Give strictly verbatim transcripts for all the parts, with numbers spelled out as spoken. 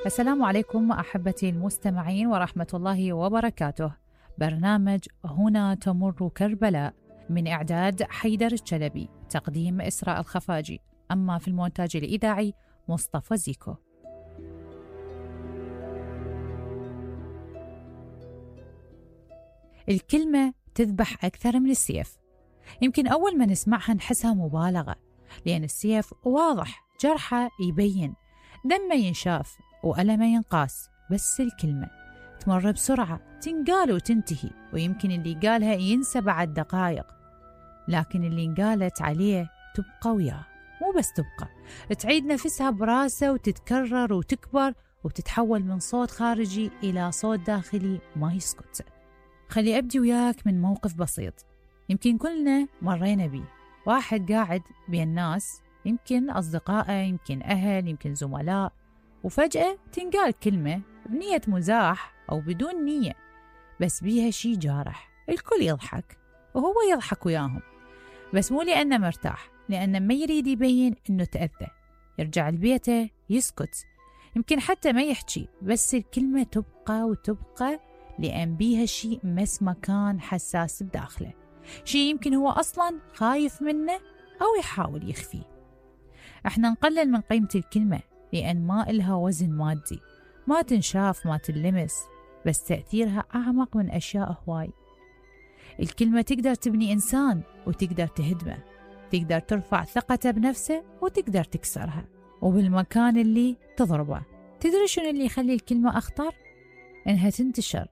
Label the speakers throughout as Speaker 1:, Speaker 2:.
Speaker 1: السلام عليكم أحبتي المستمعين ورحمة الله وبركاته. برنامج هنا تمر كربلاء من إعداد حيدر الشلبي، تقديم إسراء الخفاجي، أما في المونتاج الإذاعي مصطفى زيكو. الكلمة تذبح أكثر من السيف. يمكن أول ما نسمعها نحسها مبالغة، لأن السيف واضح، جرحه يبين، دمه ينشاف وألمه ينقاس. بس الكلمة تمر بسرعة، تنقال وتنتهي، ويمكن اللي قالها ينسى بعد دقائق، لكن اللي انقالت عليه تبقى وياه. مو بس تبقى، تعيد نفسها براسه وتتكرر وتكبر وتتحول من صوت خارجي إلى صوت داخلي ما يسكت. خلي أبدي وياك من موقف بسيط يمكن كلنا مرينا بيه. واحد قاعد بين الناس، يمكن أصدقائه، يمكن أهل، يمكن زملاء، وفجأة تنقال كلمة بنية مزاح أو بدون نية، بس بيها شي جارح. الكل يضحك وهو يضحك وياهم، بس مو لأنه مرتاح، لأنه ما يريد يبين إنه تأذى. يرجع لبيته يسكت، يمكن حتى ما يحكي، بس الكلمة تبقى وتبقى، لأن بيها شي مس مكان حساس بداخله، شي يمكن هو أصلاً خايف منه أو يحاول يخفيه. احنا نقلل من قيمة الكلمة لأن ما إلها وزن مادي، ما تنشاف، ما تلمس، بس تأثيرها أعمق من أشياء هواي. الكلمة تقدر تبني إنسان وتقدر تهدمه، تقدر ترفع ثقته بنفسه وتقدر تكسرها، وبالمكان اللي تضربه. تدري شنو اللي يخلي الكلمة أخطر؟ إنها تنتشر.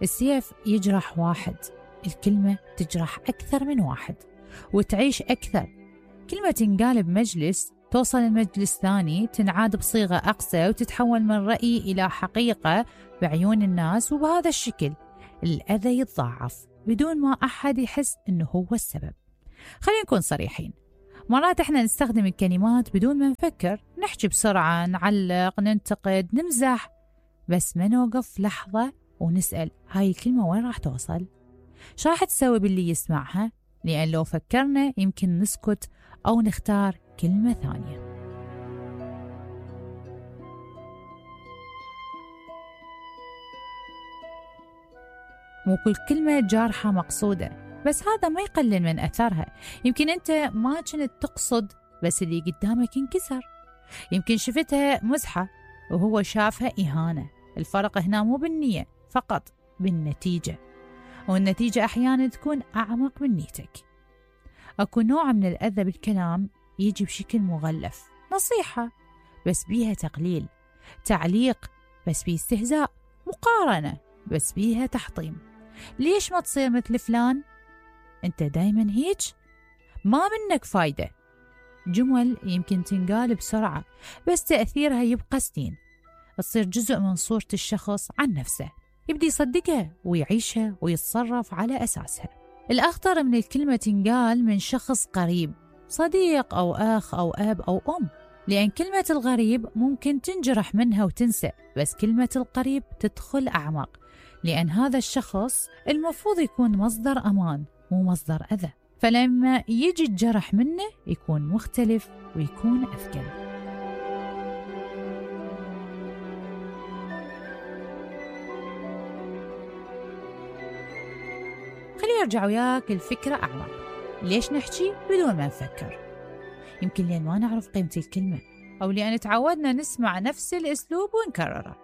Speaker 1: السيف يجرح واحد، الكلمة تجرح أكثر من واحد وتعيش أكثر. كلمة تنقال بمجلس توصل لمجلس ثاني، تنعاد بصيغة أقسى وتتحول من رأي إلى حقيقة بعيون الناس، وبهذا الشكل الأذى يتضاعف بدون ما أحد يحس إنه هو السبب. خلينا نكون صريحين، مرات إحنا نستخدم الكلمات بدون ما نفكر، نحكي بسرعة، نعلق، ننتقد، نمزح، بس ما نوقف لحظة ونسأل هاي الكلمة وين راح توصل؟ شو راح تسوي باللي يسمعها؟ لأن لو فكرنا يمكن نسكت أو نختار كلمة ثانية. مو كل كلمة جارحة مقصودة، بس هذا ما يقلل من أثرها. يمكن أنت ما كنت تقصد، بس اللي قدامك انكسر. يمكن شفتها مزحة وهو شافها إهانة. الفرق هنا مو بالنية فقط، بالنتيجة، والنتيجة أحيانا تكون أعمق من نيتك. أكو نوع من الأذى بالكلام يجي بشكل مغلف، نصيحة بس بيها تقليل، تعليق بس بيه استهزاء، مقارنة بس بيها تحطيم. ليش ما تصير مثل فلان؟ أنت دايما هيج؟ ما منك فايدة. جمل يمكن تنقال بسرعة بس تأثيرها يبقى سنين، تصير جزء من صورة الشخص عن نفسه، يبدي يصدقها ويعيشها ويتصرف على أساسها. الأخطر من الكلمة تنقال من شخص قريب، صديق أو أخ أو أب أو أم، لأن كلمة الغريب ممكن تنجرح منها وتنسى، بس كلمة القريب تدخل أعمق، لأن هذا الشخص المفروض يكون مصدر أمان مو مصدر أذى، فلما يجي الجرح منه يكون مختلف ويكون أثقل. خلي يرجع وياك الفكرة أعمق. ليش نحكي بدون ما نفكر؟ يمكن لأن ما نعرف قيمة الكلمة، أو لأن تعودنا نسمع نفس الأسلوب ونكرره.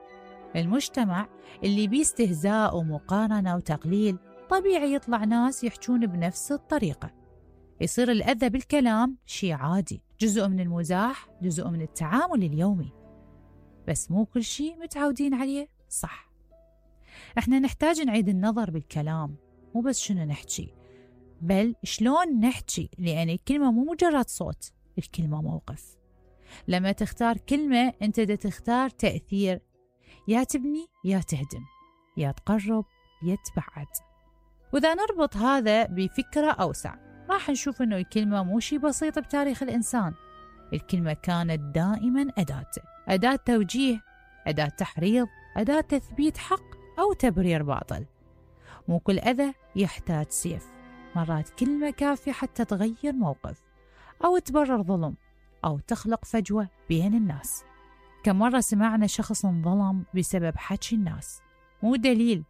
Speaker 1: المجتمع اللي بيه استهزاء ومقارنة وتقليل، طبيعي يطلع ناس يحجون بنفس الطريقة. يصير الأذى بالكلام شيء عادي، جزء من المزاح، جزء من التعامل اليومي، بس مو كل شيء متعودين عليه صح. احنا نحتاج نعيد النظر بالكلام، مو بس شنو نحكي، بل شلون نحكي، لأن الكلمة مو مجرد صوت، الكلمة موقف. لما تختار كلمة أنت دا تختار تأثير، يا تبني يا تهدم، يا تقرب يا تبعد. وإذا نربط هذا بفكرة أوسع، راح نشوف أنه الكلمة مو شي بسيط بتاريخ الإنسان. الكلمة كانت دائما أداة، أداة توجيه، أداة تحريض، أداة تثبيت حق أو تبرير باطل. مو كل أذى يحتاج سيف، مرات كلمة كافية حتى تغير موقف أو تبرر ظلم أو تخلق فجوة بين الناس. كم مرة سمعنا شخص انظلم بسبب حكي الناس، مو دليل،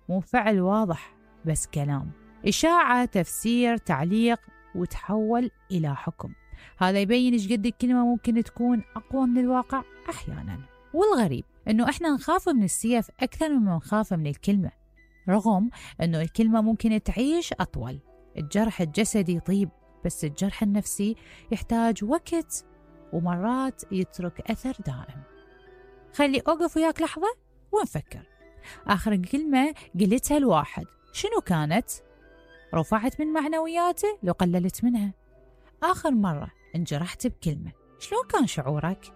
Speaker 1: مو فعل واضح، بس كلام، إشاعة، تفسير، تعليق، وتحول إلى حكم. هذا يبين إيش قد الكلمة ممكن تكون أقوى من الواقع أحيانا. والغريب إنه إحنا نخاف من السيف أكثر مما نخاف من الكلمة، رغم إنه الكلمة ممكن تعيش أطول. الجرح الجسدي يطيب، بس الجرح النفسي يحتاج وقت ومرات يترك أثر دائم. خلي أوقف وياك لحظة ونفكر. آخر كلمة قلتها الواحد شنو كانت؟ رفعت من معنوياته لو قللت منها؟ آخر مرة انجرحت بكلمة شلون كان شعورك؟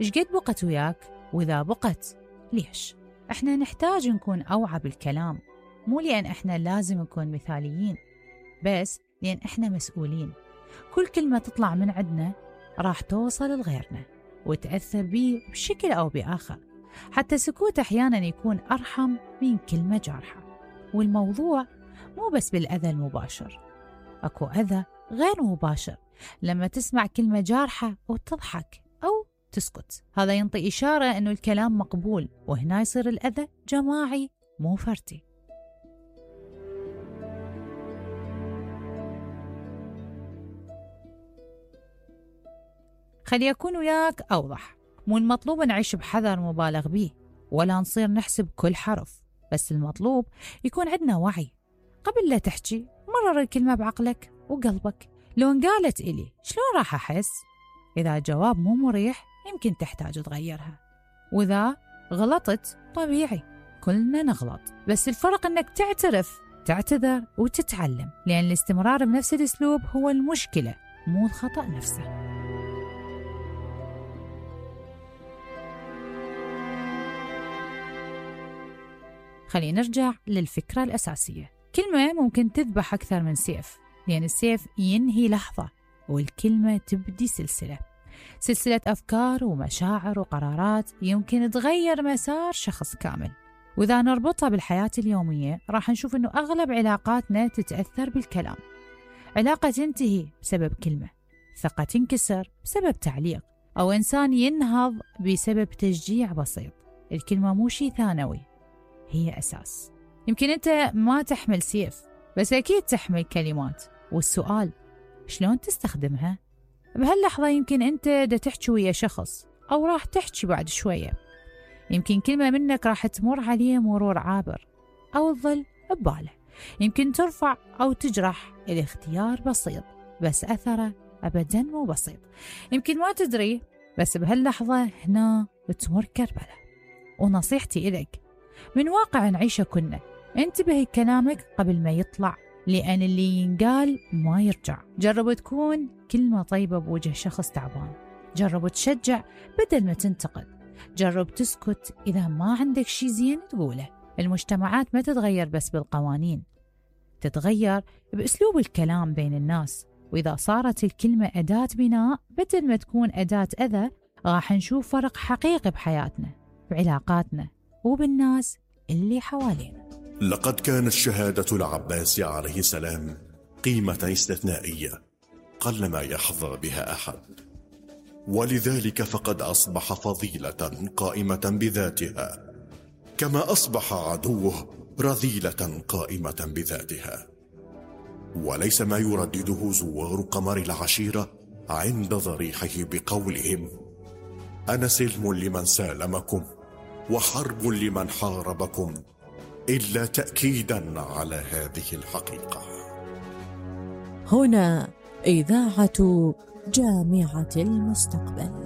Speaker 1: إيش قد بقت وياك؟ وإذا بقت ليش؟ إحنا نحتاج نكون أوعى بالكلام، مو لأن إحنا لازم نكون مثاليين، بس لأن إحنا مسؤولين. كل كلمة تطلع من عندنا راح توصل لغيرنا وتأثر بيه بشكل أو بآخر. حتى سكوت أحيانا يكون أرحم من كلمة جارحة. والموضوع مو بس بالأذى المباشر، أكو أذى غير مباشر لما تسمع كلمة جارحة وتضحك أو تسكت. هذا ينطي إشارة أنه الكلام مقبول، وهنا يصير الأذى جماعي مو فردي. خلي أكون وياك أوضح، مو المطلوب نعيش بحذر مبالغ به ولا نصير نحسب كل حرف، بس المطلوب يكون عندنا وعي. قبل لا تحكي مرر الكلمة بعقلك وقلبك، لو انقالت إلي شلون راح أحس؟ إذا الجواب مو مريح يمكن تحتاج تغيرها، وإذا غلطت طبيعي، كلنا نغلط، بس الفرق أنك تعترف، تعتذر وتتعلم، لأن الاستمرار بنفس الأسلوب هو المشكلة مو الخطأ نفسه. خلينا نرجع للفكرة الأساسية. كلمة ممكن تذبح أكثر من سيف، لأن السيف ينهي لحظة والكلمة تبدي سلسلة سلسلة أفكار ومشاعر وقرارات يمكن تغير مسار شخص كامل. وإذا نربطها بالحياة اليومية راح نشوف أنه أغلب علاقاتنا تتأثر بالكلام. علاقة تنتهي بسبب كلمة، ثقة تنكسر بسبب تعليق، أو إنسان ينهض بسبب تشجيع بسيط. الكلمة مو شيء ثانوي، هي أساس. يمكن أنت ما تحمل سيف، بس أكيد تحمل كلمات، والسؤال شلون تستخدمها؟ بهاللحظة يمكن أنت دا تحكي ويا شخص، أو راح تحكي بعد شوية. يمكن كلمة منك راح تمر عليه مرور عابر، أو تظل بباله. يمكن ترفع أو تجرح، الاختيار بسيط بس أثره أبداً مو بسيط. يمكن ما تدري، بس بهاللحظة هنا بتمر كربلة. ونصيحتي إليك من واقع نعيشه كنا، انتبهي كلامك قبل ما يطلع، لأن اللي ينقال ما يرجع. جرب تكون كلمة طيبة بوجه شخص تعبان، جرب تشجع بدل ما تنتقد، جرب تسكت إذا ما عندك شي زين تقوله. المجتمعات ما تتغير بس بالقوانين، تتغير بأسلوب الكلام بين الناس. وإذا صارت الكلمة أداة بناء بدل ما تكون أداة أذى، راح نشوف فرق حقيقي بحياتنا، بعلاقاتنا، وبالناس اللي حوالينا.
Speaker 2: لقد كانت شهادة العباس عليه السلام قيمة استثنائية قلما يحظى بها أحد، ولذلك فقد أصبح فضيلة قائمة بذاتها، كما أصبح عدوه رذيلة قائمة بذاتها. وليس ما يردده زوار قمر العشيرة عند ضريحه بقولهم: أنا سلم لمن سالمكم وحرب لمن حاربكم، إلا تأكيدا على هذه الحقيقة.
Speaker 3: هنا إذاعة جامعة المستقبل.